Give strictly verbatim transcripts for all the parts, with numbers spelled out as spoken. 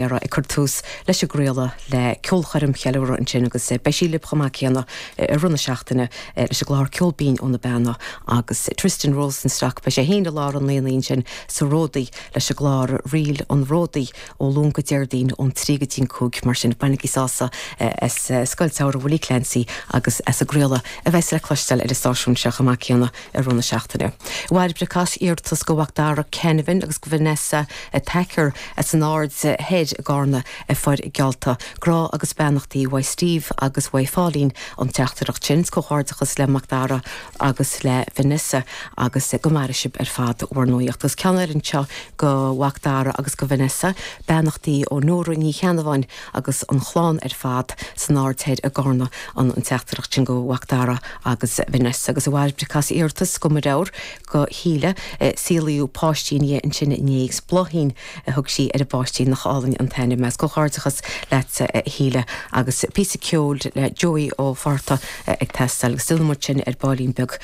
Ag cur tús leis an gcraoladh le ceolchoirm cheiliúradh ansin agus beidh sí libh chomh maith céanna i rith na seachtaine leis an gclár Ceol Binn ó na Beanna agus Tristan Rosenstock, beidh sé féin i lár an aonaigh ansin sa Ródaí leis an gclár Ríl an Ródaí ó Luan go Déardaoin ón trí go dtí an cúig. Mar sin, bainigí sásamh as Scoil Samhraidh Willie Clancy agus as an gcraoladh a bheas le cloisteáil ar an stáisiún seo chomh maith céanna i rith na seachtaine. Mhair iarratas go Mhac Dara Canavan agus go Vanessa Thacker as an Aird Thoir i gCarna a fuair geallta grá agus beannachtaí uaidh Steve agus uaidh Pauline an teachtaireacht sin. Comhghairdeachas le Mac Dara agus le Vanessa agus go maire sibh ar fad bhur ndóíocht. Agus ceann eile anseo go Mhac Dara agus go Vanessa, beannachtaí ó Nóra Ní Cheannabháin agus an chlann ar fad san Aird Thoir i gCarna an an teachtaireacht sin go Mhac Dara agus Vanessa agus a bhairbre iarratas go maireir go híle saolaíodh páiste ansin inné agus Bláithín a thug sí ar an bpáistí nach álainn an t-ainm is comhghairdeachas leat a Shíle agus píosa ceoil le Joey Ó Fátharta ag teastáil agus déanfaidh muid sin ar baillín beag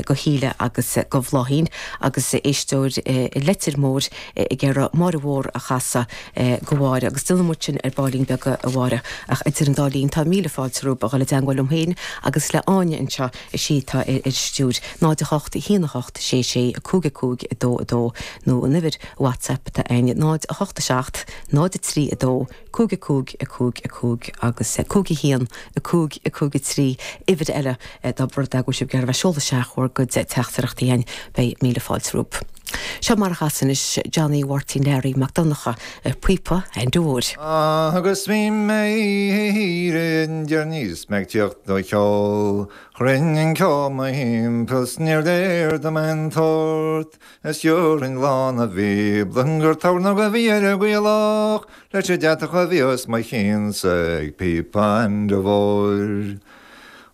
go Shíle agus go Bhláithín agus éisteoir i Leitir Móir ag iarraidh Máire Mhór a chasadh go Mháire agus déanfaidh muid sin ar baillín beag a Mháire ach idir an dá linn tá míle fáilte romhaibh a dhul i dteagmháil liom féin agus le Áine anseo is í atá ar an stiúir náid a hocht a haon a hocht sé sé a cúig a cúig a dó a dó nó an uimhir WhatsApp atá againne náid a hocht a seacht náid a trí a dó cúig a cúig a cúig a cúig agus cúig a haon a cúig a cúig a trí uimhir eile dá mba rud é go bhfuil sibh ag iarraidh bheith ag seoladh isteach bhur gcuid teachtaireachtaí chugainn beidh míle fáilte romhaibh. Seo mar a chas anois Johnny Mháirtín Learaí Mac Donncha píopa Aindí Mhóir. Agus bhí mé níos me teocht do cheol, Chruinn an ceol mo thimpeall níor léir dom an tort, Is dheorainn lán a bhí gur tabharna go bhí ar a gcuileach, leis an deatach a bhí os mo chionn ag píopa Aindí Mhóir.